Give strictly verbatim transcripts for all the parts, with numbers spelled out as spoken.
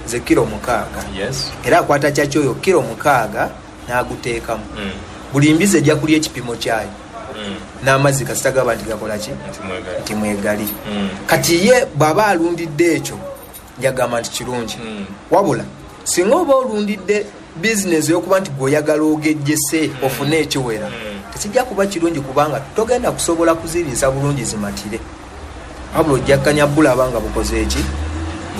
Ze kiro mukaaga. Yes. Era akwata kyaki oyo kiro mukaaga n'aguteekamu. Mm. Buli mbizi ejja kulya ekipimo kyayo Mm. n'amazzi kasita gaba nti gakola ki? Nti mwegali. Nti mwegali. Mm. Kati ye bw'aba alundidde ekyo, njagamba nti kirungi. Mm. Wabula singa oba olundidde bizinesi ey'okuba nti gweoyagala ogejjese ofune ekiwera, Mm. tekijja kuba kirungi, kubanga togenda kusobola kuziriisa bulungi zimatire, wabula ojja kkanya bulaba nga bukoze eki?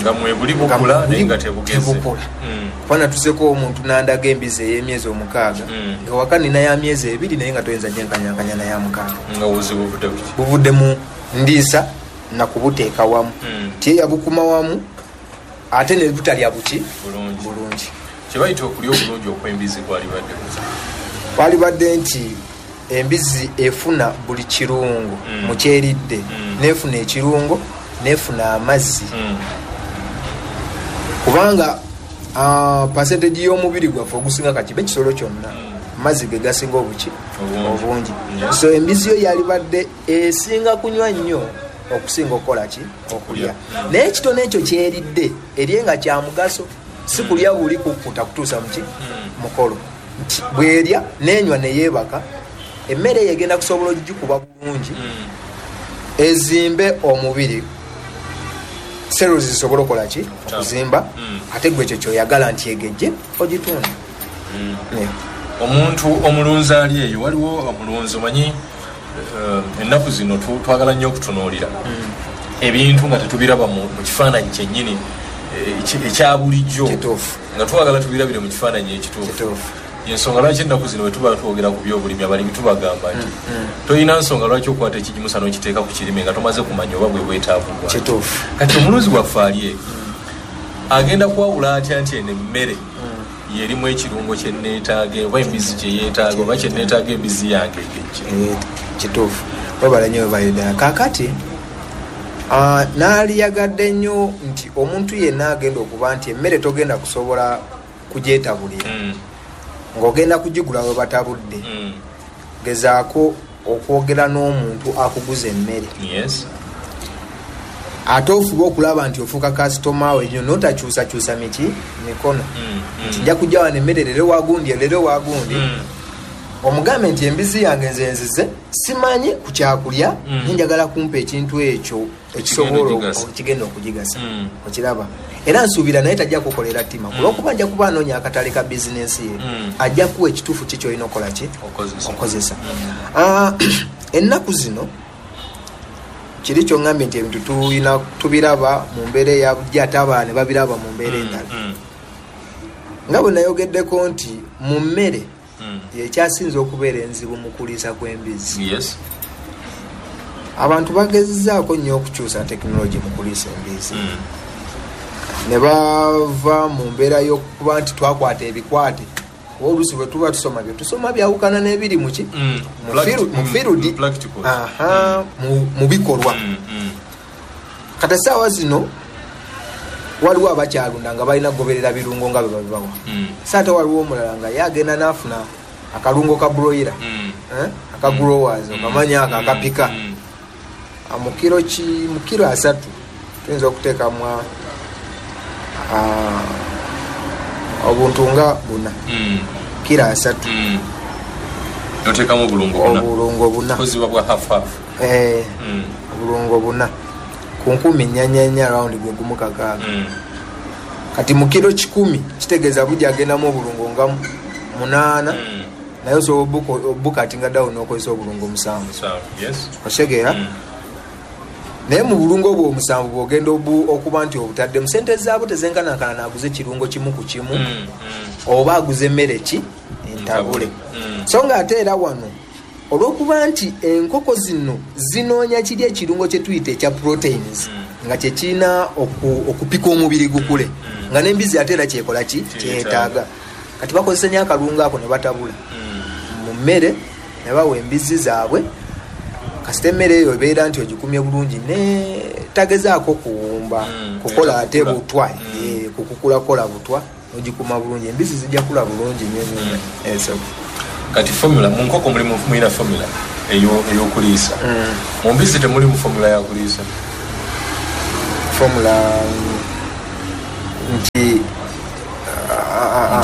Nga mwebuli bukula, naye nga tebugeze. Tebukula. Mm. Kuba natuseko omuntu nandaga embizi ey'emyezi omukaaga, Mm. nga waka nina ya myezi ebiri, naye nga toyinza gyenkanyankanya naya mukaaga. Nga obuzibu buvudde kuki? Buvudde mu ndiisa nakubuteeka wamu. Mm. Tiye yabukuma wamu, ate ne butalya buki? Bulungi. Bulungi. Kyebayita okulya obulungi okw'embizi kwalibadde kuki? Walibadde nti embizi efuna buli kirungo Mm. mu kyeridde, Mm. nefuna ekirungo, nefuna amazzi, Mm. kubanga uh, percentage y'omubiri gwaffe ogusinga, kakibe ekisolo kyonna, Mm. amazzi ge gasinga obuki? Obungi. Obungi. Yes. So embizi yo yalibadde esinga kunywa nnyo okusinga okukola ki? Okulya. Naye ekitono ekyo kyeridde erye nga kya mugaso, si kulya buli kukkuta kutuusa muki? Mm. Mukolo. Nti bwerya nenywa neyeebaka, emmere eyo egenda kusobola ogikuba bulungi, Mm. ezimbe omubiri, cells zisobole okukola ki? Okuzimba. Mm. Ate gwe ekyo kyoyagala nti egejje ogitunda. Mm. Yeah. Omuntu omulunzi ali eyo, waliwo omulunzi omanyi, eh, ennaku zino tu- twagala nnyo okutunuulira ebintu nga tetubiraba mu mu kifaananyi kyennyini, eh, eki- ekya bulijjo, Kituufu. nga twagala tubirabire mu kifaananyi ekituufu. Kituufu. Ensonga lwaki ennaku zino bwe tuba twogera ku byobulimi, abalimi tubagamba nti Mm. tolina nsonga lwaki okwata ekigimusa n'okiteeka ku kirime nga tomaze kumanya oba bwe bwetaavu bwa. Kituufu. Kati omulunzi waffe ali eyo agenda kwawula atya nti eno emmere yerimu ekirungo kyeneetaaga, oba embizi kyeyeetaaga, oba kyeneetaaga embizi yange egejje? Eh, kituufu, webala nnyo, webale ddala. Kakati ah, naaliyagadde nnyo nti omuntu yenna agenda okuba nti emmere togenda kusobola kugyetabulira, Mm, ng'ogenda kugigula we batabudde, mm, gezaako okwogera n'omuntu akuguza emmere, yes ate ofube okulaba nti ofuuka kasitoma we nnyo, notakyusakyusa miki mikono, Mm, nti mm. nja kujja wano emmere leero wagundi, leero wagundi. Mm, Omugambe nti embizi yange nze nzize simanyi ku kyakulya, Mm. naye njagala kumpa ekintu ekyo ekisobola okugigasa. Ekigenda okugigasa. Mm. Okiraba, era nsuubira naye tajja kukolera ttima, kulwokuba nja kuba anoonya akatale ka bizinensi ye. Mm. Ajja kuwa ekituufu ki kyolina okukola ki? Okozesa. Okozesa. Ah, ennaku zino kiri kyoŋŋambye nti ebintu tulina tubiraba mu mbeera eya bulijjo, ate abalala ne babiraba mu mbeera endala. Mm, Nga bwe nayogeddeko nti mu mmere mm. yekyasinza okubeera enzibu mu kuliisa kw'embizi, yes abantu bagezezzaako nnyo okukyusa tekinologi mu kuliisa embizi, Mm, ne bava mu mbeera y'okuba nti twakwata ebikwate, oba oluusi bwe tuba tusoma bye tusoma byawukana n'ebiri muki? Mm. Mu firu- mu Mm, field. mm, practicals. Aha, mu- mu bikolwa. Mm, mm. Kati essaawa zino waliwo abakyalunda nga balina kugoberera birungo nga bwe babibawa. Mm. So ate waliwo omulala nga ye agenda n'afuna akalungo ka broiler, Mm. eh, aka growers, okamanya ako Mm, akapika. mm. Ah, mu kiro ki, mu kiro asatu tuyinza okuteekamu ah, obuntu nga buna. Mm. Kiro asatu. Mm. Noteekamu obulungo buna? Obulungo buna. Koziba bwa half half? Eh, Mm. obulungo buna ku nkumi nnyanya, round gwe gumu kakaaga. Mm. Kati mu kiro kikumi kitegeeza bujja agendamu obulungo nga munaana, Mm. naye osobola obuko- obukatinga down n'okozesa obulungo musanvu. So, yes. Otegeera? Mm. Naye mu bulungo obwo omusanvu bwogenda obu- okuba nti obutaddemu, sente zaabwo tezenkanankana naaguza ekirungo kimu ku kimu Mm. Mm. oba aguza emmere ki? Entabule. Mm. So nga ate era wano olwokuba nti enkoko zino zinoonya kiri ekirungo kye tuyita ekya proteins, Mm. nga kyekirina oku- okupika omubiri gukule, nga n'embizi ate era kyekola ki? Kyetaaga. Kyetaaga. Kati bakozesa nnyo akalungo ako ne batabula Mm. mu mmere ne bawa embizi zaabwe. Kasita emmere eyo ebeera nti ogikumye bulungi ne tagezaako kuwumba, Mm, kukola ate etakukula. butwa, Mm. eh, kukukulakola butwa, ogikuma bulungi, embizi zijja kula bulungi nnyo nnyo nnyo. Eh, so, Kati formula mu nkoko mulimu, mulina formula eyo- ey'okuliisa. Mm. Mu mbizi temulimu formula yakuliisa? Formula.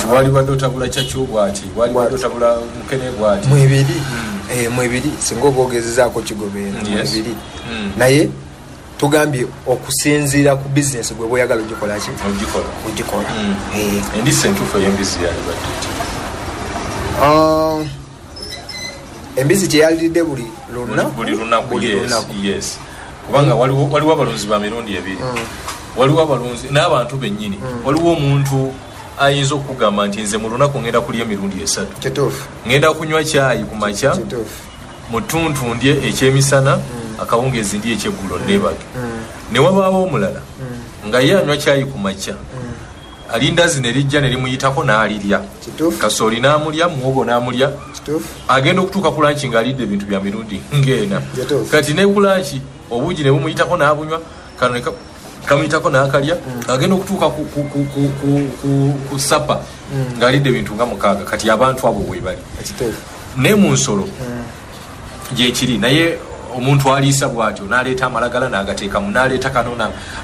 Wali badde otabula kyakyo bwati, wali badde otabula mukene bwati. Mwebiri mm. Mwebiri singa oba ogezezaako kigoberera mwebiri. Mm. Naye tugambye okusinziira ku bizinesi gwe bw'oyagala ogikola ki? Ogikola. Ogikola. Mm. Eh. Endiisa entuufu ey'embizzi yalibadde ki? Uh, embizzi kye yaliridde buli lunaku. Buli lunaku, yes, yes. Kubanga waliwo waliwo abalunzi ba mirundi ebiri. Mm. Waliwo abalunzi n'abantu bennyini. Mm. Waliwo omuntu ayinza okugamba nti nze mu lunaku ngenda kulya emirundi esatu. Kituufu. Ngenda kunywa kyayi ku makya. Kituufu. Mu ttuntu ndye ekyemisana, mm. akawungeezi ndye ekyeggulo nneebake. Mm. Ne wabaawo omulala mm. nga ye anywa kyayi ku makya. Mm. Alindazi ne lijja ne limuyitako n'alirya. Kituufu. Kasooli n'amulya, muwogo n'amulya. Kituufu. Agenda okutuuka ku lanki ng'alidde ebintu bya mirundi ng'ena. Kituufu. Kati ne ku lanki obuugi ne bumuyitako n'abunywa, kano ne kamuyitako n'akalya, mm. agenda okutuuka ku, ku, ku, ku, ku, ku, ku sapa mm. ng'alidde ebintu nga mukaaga. Kati abantu abo bwe bali. Kituufu. Ne mu nsolo mm. gyekiri, naye omuntu aliisa bw'atyo n'aleeta amalagala n'agateekamu, n'aleeta kano,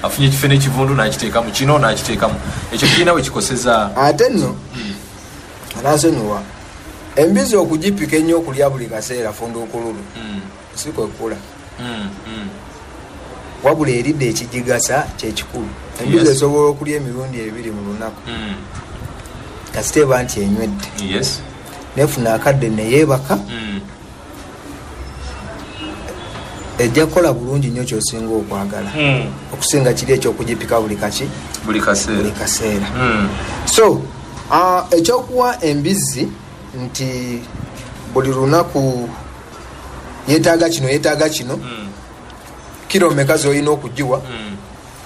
afunye ekifo n'ekivundu n'akiteekamu, kino n'akiteekamu. Ekyo kirina we kikoseza. Ate nno anansonyiwa, embizzi okugipika ennyo okulya buli kaseera funduukululu mm. si kwekula. mm. mm. Wabula eridde ekigigasa kyekikulu. Embizzi Yes. esobola okulya emirundi ebiri mu lunaku. mm. Kasita eba nti enywedde. Yes. Nefuna akadde ne yeebaka. mm. Ejja kukola bulungi nnyo ky'osinga okwagala. mm. Okusinga kiri eky'okugipika buli kaki? Buli kaseera. Buli kaseera. mm. So, uh, ekyokuwa embizzi nti buli lunaku yeetaaga kino, yeetaaga kino, mm. kiro mmeka z'olina okugiwa, mm.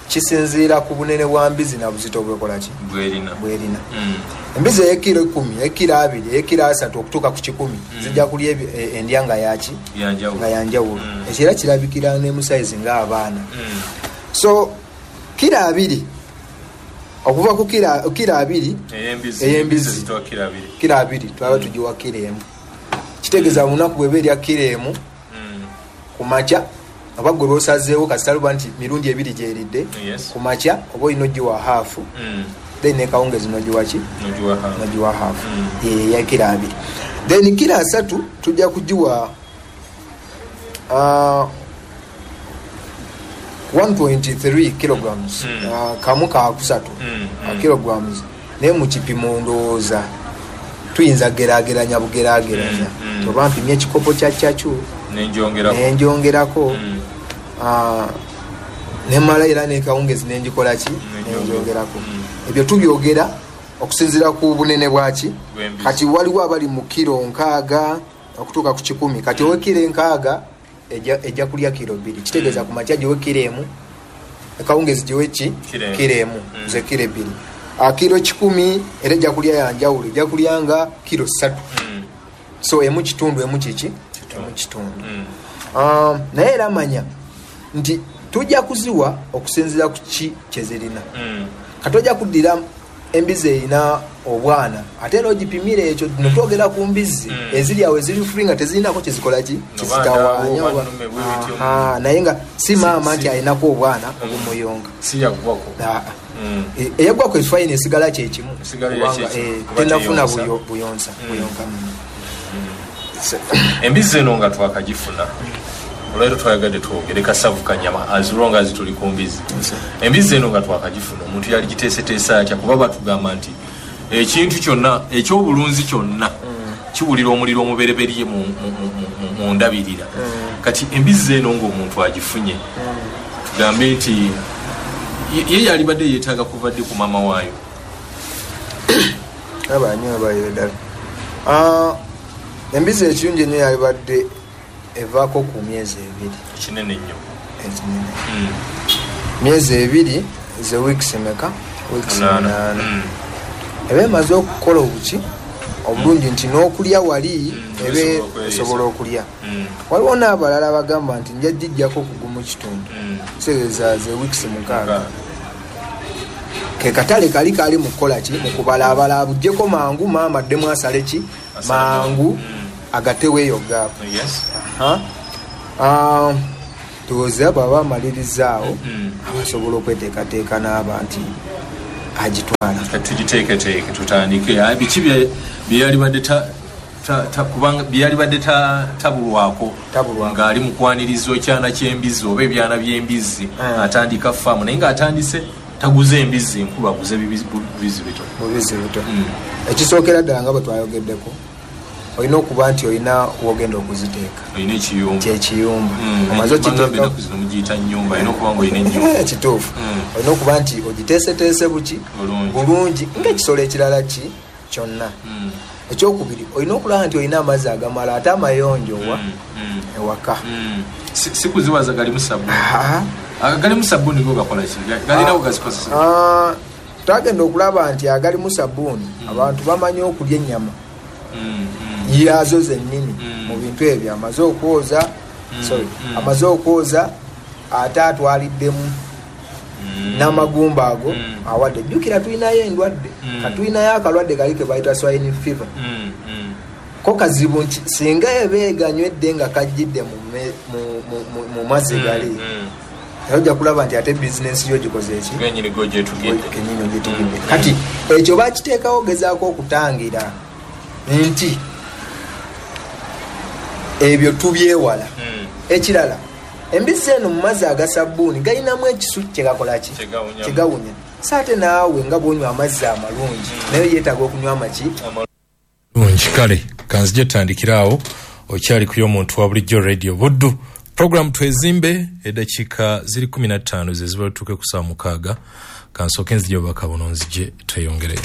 kisinziira ku bunene bwa mbizzi na buzito bwekola ki? Bwerina. Bwerina. mm. Embizzi ey'ekiro ekkumi, ey'ekiro abiri, ey'ekiro asatu okutuuka ku kikumi, mm. zijja kulya endya nga yaki? Yanjawulo. Nga yanjawulo. mm. Ekyo era kirabikira ne mu sayizi ng'abaana. mm. So kiro abiri okuva ku kiro kiro abiri ey'embizzi, ey'embizzi zitwa kiro abiri. Kiro abiri twaba tugiwa kiro emu. Kitegeeza lunaku bw'eba erya kiro emu mm. ku makya, oba gwe lw'osazeewo kasita luba nti mirundi ebiri gy'eridde, Yes. ku makya oba olina ogiwa haafu, mm. then nekawungezi n'ogiwa ki? N'ogiwa haafu. N'ogiwa haafu. Mm. Ye ya kiro abiri. Then kiro asatu tujja kugiwa, uh, one point three kilograms. Mm. Uh, kamu ka kusatu. Mm. Uh, kilograms. Naye mu kipimo ndowooza tuyinza geraageranya bugeraageranya. Mm. Mm. Oba mpimye ekikopo kya kyacu nenjongerako. Nenjongerako. Mm. Uh, nemala era nekawungezi nenjikola ki? Nenjongerako. Mm. Ebyo tubyogera okusinziira ku bunene bwaki. Bw'embizzi. Kati waliwo abali mu kiro nkaaga okutuuka ku kikumi. Kati Mm. ow'ekiro enkaaga ejja, ejja kulya kiro bbiri. Kitegeeza Mm. ku makya giwe kiro emu, akawungezi giwe ki? Kiro emu. Kiro emu. Mm. Ze kiro ebbiri. Ah, kiro kikumi era ejja kulya ya njawulo, ejja kulya nga kiro ssatu. Mm. So emu kitundu, emu kiki? Kitundu. Emu kitundu. Mm. Um, naye era manya nti tujja kuziwa okusinziira ku ki kye zirina. Mm. Kati ojja kuddira embizzi erina obwana ate era ogipimira ekyo. Mm. No twogera ku mbizzi Mm. eziri awo eziri free nga tezirinako kyezikola ki? No, Kizitawaanya baana, oba- nnume, bwe bityo. Aha, naye nga si Si- maama si. nti alinako obwana Mm. obumuyonga. Si yaggwako. Aa. Mm. E, eyaggwako efayina esigala kyekimu. Esigala Kubanga, kyekimu. eh, Kuba tennafuna teyonsa. buyo-, buyonsa, Mm. buyonka. Mm. Embizzi eno nga twakagifuna, olwaleero twayagadde twogere kasavu kanyama as long as tuli ku mbizzi. Yes. Embizzi eno nga twakagifuna, omuntu yali giteeseteese atya? Kuba batugamba nti ekintu kyonna ekyobulunzi kyonna Mm. kiwulira omuliro omubereberye mu, mu, mu, mu, mu ndabirira. Mm. Kati embizzi eno ng'omuntu agifunye, Mm. tugambe nti ye, ye yalibadde yeetaaga kuva ddi ku maama waayo? Aba nnyo abayo ddala. Ah, embizzi ekirungi ennyo yalibadde evaako ku myezi ebiri. Ekinene nnyo. Ekinene. Mm. Myezi ebiri ze weeks meka? Weeks Munaana. munaana. Mm. Eba emaze okukola obuki obulungi nti n'okulya wali Mm, ebe esobola okweriisa. esobola okulya. Mm. Waliwo n'abalala bagamba nti nja giggyako ku gumu kitundu. Mm. Kitegeeza ze weeks mukaaga. Mukaaga. Ke katale kali kali mu kukola ki? Mu kubalaabala abuggyeko mangu, maama addemu asale ki? Asale. Mangu, Mm. agatewo eyo gaapu. Yes. Aha. Ah, ndowooza bw'aba amalirizzaawo, Mm. abasobola okweteekateeka n'aba nti Agitwala. Tugiteeketeeke tutandike. Biki byeyalibadde kubanga byalibadde tabulwako ng'ali mu kwaniriza ekyana ky'embizzi oba ebyana by'embizzi, atandika faamu naye ng'atandise taguze embizzi nkulu, aguze bibizzi bito. Bubizzi bito. Ekisookera ddala nga bwe twayogeddeko, olina okuba nti olina wogenda okuziteeka. Olina ekiyumba. Kyekiyumba. Omaze okiteeka zino mugiyita nnyumba, olina okuba nga olina ennyumba. Kituufu. Olina okuba nti ogiteeseteese buki bulungi ng'ekisolo ekirala ki kyonna. Ekyokubiri, olina okulaba nti olina amazzi agamala ate amayonjo wa ewaka. Si kuziwaza galimu sabbuuni. Agalimu sabbuuni go gakola ki? Galina gazikozesa? Twagenda okulaba nti agalimu sabbuuni abantu bamanyi okulya ennyama yazo zennyini mu bintu ebyo amaze okwoza, sorry, amaze okwoza ate atwaliddemu n'amagumba ago awadde. Jjukira tulinayo endwadde, katulinayo akalwadde kali ke bayita swine fever. Ko kazibu nti singa eba eganywedde nga kajjidde mu mazzi gali, ojja kulaba nti ate bizinensi yo gikoze eki kenyini gyogyetugidde. Kati ekyo bakiteekawo gezaako okutangira nti ebyo tubyewala. Ekirala, embizzi eno mu mazzi aga sabbuuni galinamu ekisu kyegakola ki? Kyegawunya. So ate naawe nga bw'onywa amazzi amalungi, naye yeetaaga okunywa amaki amalungi. Kale kanzije tutandikira awo. Okyali ku y'omuntu wa bulijjo Radio Buddu, program Twezimbe. Eddakiika ziri kumi na ttaano ze ziba tutuuke ku ssaawa mukaaga. Kansooke nzije obubaka buno nzije tweyongereyo.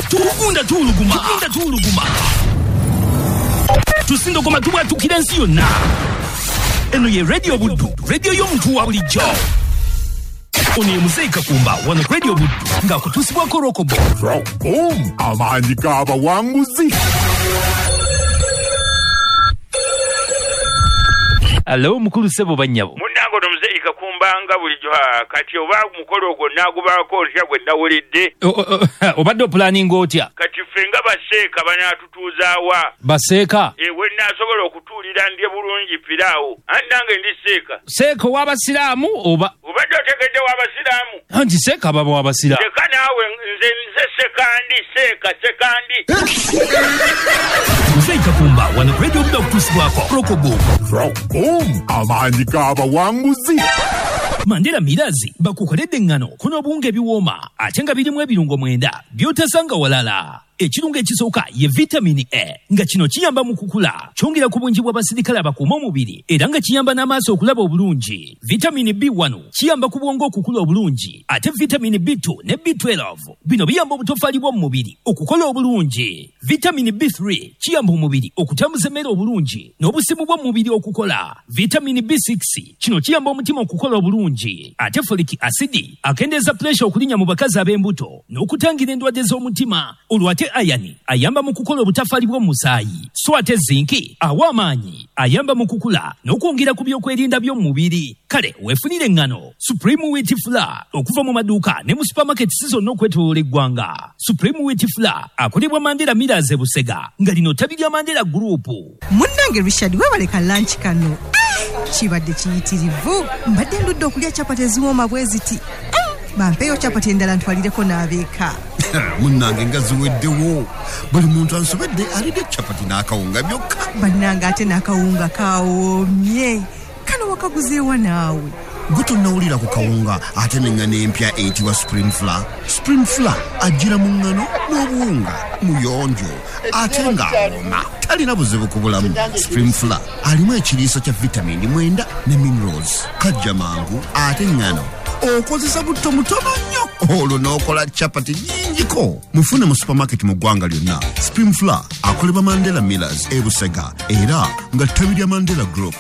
Tugunda tuwuluguma, tugunda tuwuluguma, tusindogoma tubwatukira ensi yonna. Eno ye Radio Buddu, radio y'omuntu wa bulijjo. Ono ye Muzeeyi Kakumba wano Radio Buddu ng'akutuusibwako Rokobo. Rokobo, amaanyi g'abawanguzi. Alo mukulu ssebo bannyabo. Munnange ono Muzeeyi Kakumba nga bulijjo kati oba mukolo ogwo naagubaako ntya gwe nawulidde? Obadde opulaninga otya? Kati ffe nga baseeka banaatutuuzaawa. Baseeka? Ewe naasobola okutuulira ndye bulungi piraawo. Anti nange ndi seeka. Seeka ow'abasiraamu oba? Obadde otegedde w'abasiraamu? Anti seeka baba w'abasiraamu. Leka naawe nze nze sekandi seeka sekandi. Muzeeyi Kakumba wano Radio Buddu akutuusibwako Rokobo. Rokobo, amaanyi g'abawanguzi. Mandela Mirazi bakukoledde eŋŋano kuno obuwunga ebiwooma ate nga birimu ebirungo mwenda by'otasanga walala. Ekirungo ekisooka ye vitamini A nga kino kiyamba mu kukula, kyongera ku bungi bw'abasirikale abakuuma omubiri era nga kiyamba n'amaaso okulaba obulungi. Vitamini B one kiyamba ku bwongo okukula obulungi, ate vitamini B two ne B twelve bino biyamba obutoffaali bw'omu mubiri okukola obulungi. Vitamini B three kiyamba omubiri okutambuza emmere obulungi n'obusimu bw'omu mubiri okukola. Vitamini B six kino kiyamba omutima okukola obulungi, ate folic acid akendeeza puresha okulinnya mu bakazi ab'embuto n'okutangira endwadde z'omutima. Olwo ate ayani ayamba mu kukola obutafaali bw'omusaayi, so ate zinki awa amaanyi, ayamba mu kukula n'okwongera ku byokwerinda by'omubiri. Kale weefunire eŋŋano Supreme Wheat Flour okuva mu maduuka ne mu supermarkets zonna okwetooloola eggwanga. Supreme Wheat Flour akolebwa Mandela Millers e Busega nga lino ttabi lya Mandela Group. Munnange Richard, weebale ka lunch kano kibadde kiyitirivu. Mbadde ndudde okulya capati eziwooma bwe ziti. Bampeeyo capati endala ntwalireko n'abeeka. Munnange nga ziweddewo, buli muntu ansobedde alidde capati n'akawunga byokka. Bannange ate n'akawunga kawoomye. Kano wakaguzeewa naawe? Gwe tonnawulira ku kawunga ate n'eŋŋano empya eyitibwa Supreme Flour. Supreme Flour ajjira mu ŋŋano n'obuwunga, muyonjo ate ng'awooma, talina buzibu ku bulamu. Supreme Flour alimu ekiriisa kya vitamini mwenda ne minerals, kajja mangu ate ŋŋano okozesa butto mutono nnyo olwo n'okola capati nnyingiko. Mufune mu supermarket mu ggwanga lyonna. Supreme Flour akolebwa Mandela Millers e Busega era nga ttabi lya Mandela Group.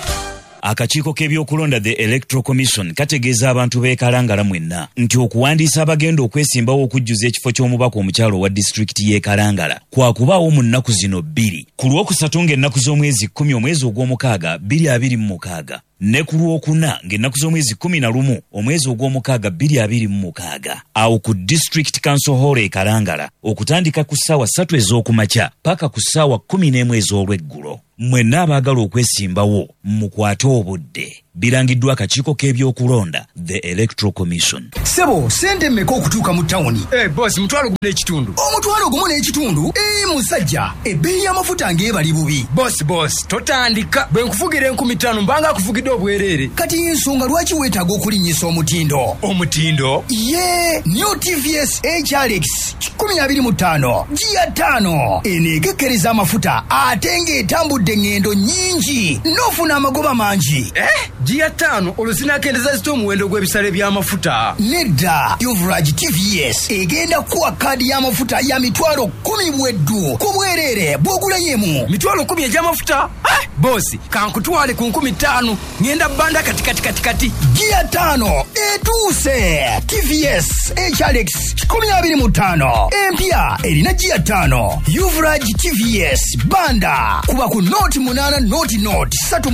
Akakiiko k'ebyokulonda the Electoral Commission kategeeza abantu b'e Kalangala mwenna nti okuwandiisa abagenda okwesimbawo okujjuza ekifo ky'omubaka omukyalo owa disitulikiti y'e Kalangala kwakubaawo mu nnaku zino bbiri, ku lwokusatu ng'ennaku z'omwezi kkumi omwezi ogw'omukaaga bbiri abiri mu mukaaga ne ku lwokuna ng'ennaku z'omwezi kkumi na lumu omwezi ogw'omukaaga bbiri abiri mu mukaaga awo ku District Council Hall e Kalangala okutandika ku ssaawa ssatu ez'okumakya paka ku ssaawa kkumi n'emu ez'olweggulo. Mwenna abaagala okwesimbawo mukwate obudde. Birangiddwa akakiiko k'ebyokulonda, the Electoral Commission. Sebo, sente mmeka okutuuka mu tawuni? Hey, boss, mutwalo gumu n'ekitundu. Omutwalo gumu n'ekitundu? Ee, musajja, ebbeeyi y'amafuta ng'ebali bubi. Boss, boss, totandika. Bwe nkuvugira enkumi ttaano mbanga akuvugidde obwereere. Kati ensonga lwaki weetaaga okulinnyisa omutindo? Omutindo? Ye, New T V S H R X kikumi abiri mu ttaano, giya ttaano. Eno ekekkereza amafuta ate ng'etambudde engendo nnyingi n'ofuna amagoba mangi. Eh? Giya ttaano olwo zinaakendeza zitya omuwendo gw'ebisale by'amafuta? Nedda, Yuvraj T V S egenda kuwa kaadi y'amafuta ya mitwalo kkumi bweddu ku bwereere bw'ogulayo emu. Mitwalo kkumi egy'amafuta? Eh, bosi, kankutwale ku nkumi ttaano ŋŋenda bbanda kati kati kati kati. Giya ttaano etuuse. T V S H R X kikumi abiri mu ttaano empya erina giya ttaano. Yuvraj T V S banda kuba ku noti munaana noti noti ssatu.